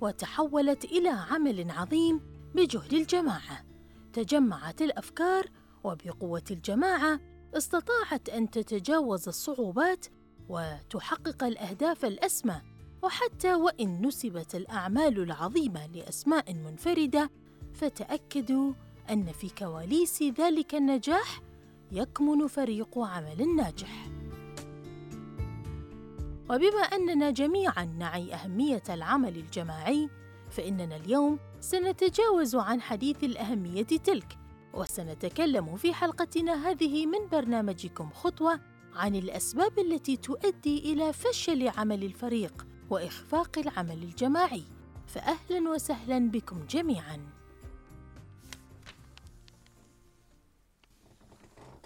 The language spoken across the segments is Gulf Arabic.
وتحولت إلى عمل عظيم بجهد الجماعة. تجمعت الأفكار، وبقوة الجماعة استطاعت أن تتجاوز الصعوبات وتحقق الأهداف الأسمى. وحتى وإن نسبت الأعمال العظيمة لأسماء منفردة، فتأكدوا أن في كواليس ذلك النجاح يكمن فريق عمل ناجح. وبما أننا جميعاً نعي أهمية العمل الجماعي، فإننا اليوم سنتجاوز عن حديث الأهمية تلك، وسنتكلم في حلقتنا هذه من برنامجكم خطوة عن الأسباب التي تؤدي إلى فشل عمل الفريق وإخفاق العمل الجماعي. فأهلاً وسهلاً بكم جميعاً.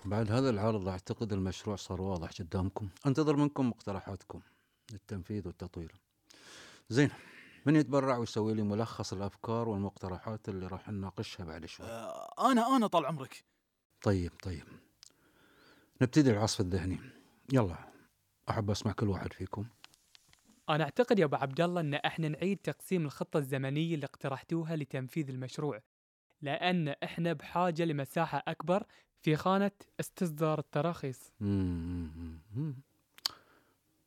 بعد هذا العرض أعتقد المشروع صار واضح قدامكم. أنتظر منكم مقترحاتكم للتنفيذ والتطوير. زين، من يتبرع ويسوي لي ملخص الأفكار والمقترحات اللي راح نناقشها بعد شوي؟ أنا طال عمرك. طيب نبتدي العصف الذهني. يلا، أحب أسمع كل واحد فيكم. أنا أعتقد يا أبو عبد الله أن إحنا نعيد تقسيم الخطة الزمنية اللي اقترحتوها لتنفيذ المشروع، لأن إحنا بحاجة لمساحة أكبر في خانة استصدار التراخيص.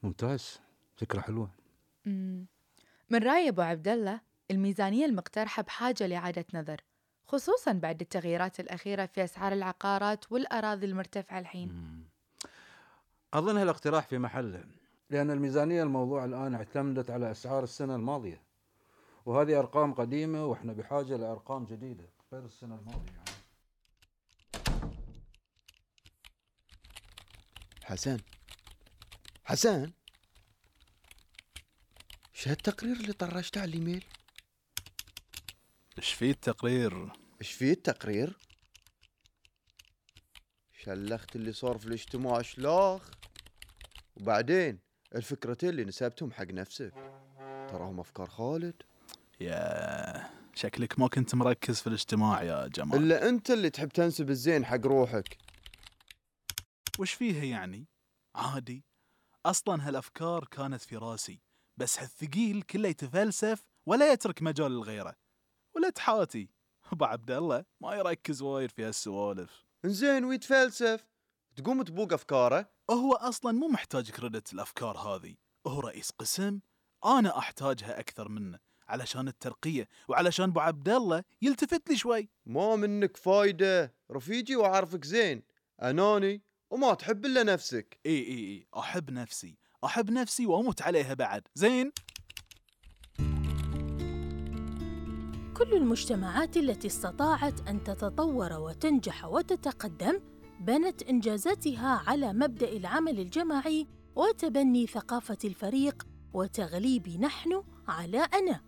ممتاز، فكرة حلوة. من رأي أبو عبد الله، الميزانية المقترحة بحاجة لإعادة نظر، خصوصاً بعد التغييرات الأخيرة في أسعار العقارات والأراضي المرتفعة الحين. أظن هالاقتراح في محله، لأن الميزانية الموضوع الآن اعتمدت على أسعار السنة الماضية، وهذه أرقام قديمة، وإحنا بحاجة لأرقام جديدة غير السنة الماضية يعني. حسن، ايش هالتقرير اللي طرشته على الايميل؟ ايش فيه التقرير؟ شلخت اللي صار في الاجتماع شلاخ. وبعدين الفكرتين اللي نسبتهم حق نفسك تراهم افكار خالد. يا شكلك ما كنت مركز في الاجتماع يا جمال. الا انت اللي تحب تنسب الزين حق روحك. وش فيها يعني؟ عادي، اصلا هالافكار كانت في راسي، بس هالثقيل كله يتفلسف ولا يترك مجال لغيره. ولا تحاتي ابو عبد الله ما يركز وايد في هالسوالف. انزين ويتفلسف تقوم تبوق افكاره. هو اصلا مو محتاج كريدت الافكار هذه، هو رئيس قسم، انا احتاجها اكثر منه علشان الترقية وعلشان ابو عبد الله يلتفت لي شوي. ما منك فايدة رفيجي، وعارفك زين اناني وما تحب الا نفسك. اي احب نفسي واموت عليها بعد. زين، كل المجتمعات التي استطاعت أن تتطور وتنجح وتتقدم بنت إنجازاتها على مبدأ العمل الجماعي وتبني ثقافة الفريق وتغليب نحن على أنا،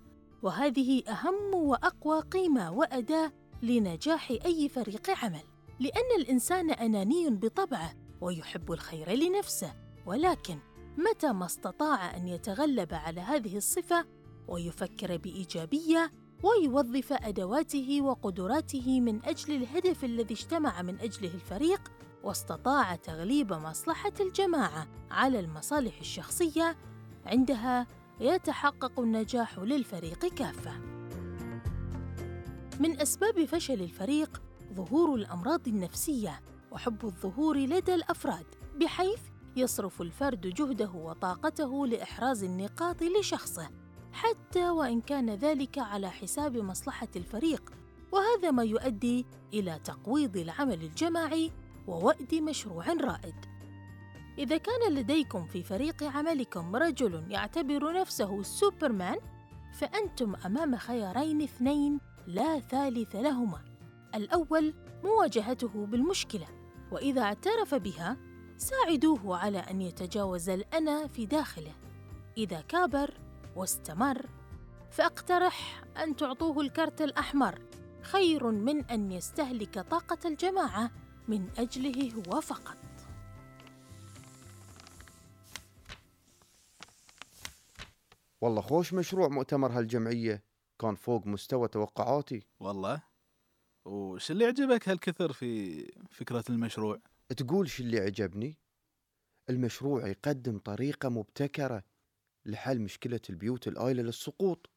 وهذه أهم وأقوى قيمة وأداة لنجاح أي فريق عمل، لأن الإنسان أناني بطبعه ويحب الخير لنفسه، ولكن متى ما استطاع أن يتغلب على هذه الصفة ويفكر بإيجابية ويوظف أدواته وقدراته من أجل الهدف الذي اجتمع من أجله الفريق، واستطاع تغليب مصلحة الجماعة على المصالح الشخصية، عندها يتحقق النجاح للفريق كافة. من أسباب فشل الفريق ظهور الأمراض النفسية وحب الظهور لدى الأفراد، بحيث يصرف الفرد جهده وطاقته لإحراز النقاط لشخصه، حتى وإن كان ذلك على حساب مصلحة الفريق، وهذا ما يؤدي إلى تقويض العمل الجماعي ووأد مشروع رائد. إذا كان لديكم في فريق عملكم رجل يعتبر نفسه سوبرمان، فأنتم أمام خيارين اثنين لا ثالث لهما. الأول مواجهته بالمشكلة، وإذا اعترف بها ساعدوه على أن يتجاوز الأنا في داخله. إذا كابر واستمر، فأقترح أن تعطوه الكرت الأحمر، خير من أن يستهلك طاقة الجماعة من أجله هو فقط. والله خوش مشروع مؤتمر هالجمعية، كان فوق مستوى توقعاتي. والله، وش اللي عجبك هالكثر في فكرة المشروع؟ تقول شو اللي عجبني؟ المشروع يقدم طريقة مبتكرة لحل مشكلة البيوت الآيلة للسقوط،